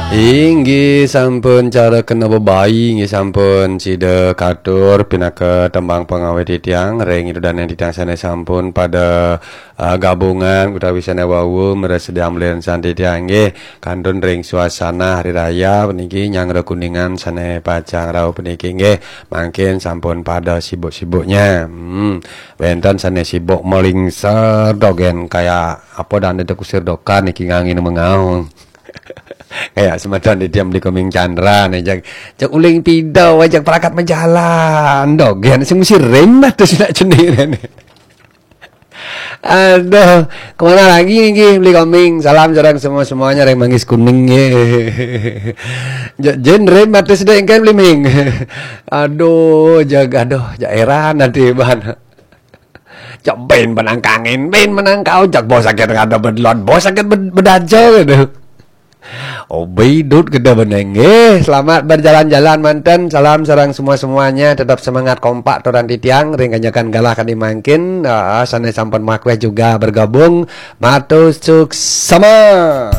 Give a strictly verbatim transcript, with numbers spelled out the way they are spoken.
Inggih sampun cara kena bebayi, inggih sampun sida katur pinaka tembang pengawit titiang ring ida dané titiang sané sampun pada uh, gabungan utawi sané wau mresediang mlinsan titiang inggih kantun ring suasana hari raya puniki nyanggra kuningan sané pacang rauh puniki inggih mangkin sampun pada sibuk-sibuknya. Hmm, wénten sané sibuk melingser dogén kaya apa dan ada kusir dokan niki ngangin mengaung. Kayak semeton di tiang beli koming Chandra nih, jak, jak uling pida, jak perangkat majalan, dogén sing mesti rem dah tu sinak cenik ni. Aduh, kemana lagi ni beli koming? Salam sareng semua-semuanya ring Manggis Kuning ya. Jak jen rem dah tu sinak kan beli ming. Aduh, jak aduh, jak heran nanti ban. Jak bin menang kangin, bin menang kau, jak bos sakit ngada bedlon, bos sakit bed, bedaja gitu. Obi dut gede beneng. Eh, selamat berjalan-jalan manten. Salam sareng semua-semuanya. Tetap semangat kompak turan titiang. Ring kanyakan galah kadi mangkin. Ah, sané sampun makweh juga bergabung. Matur suksema.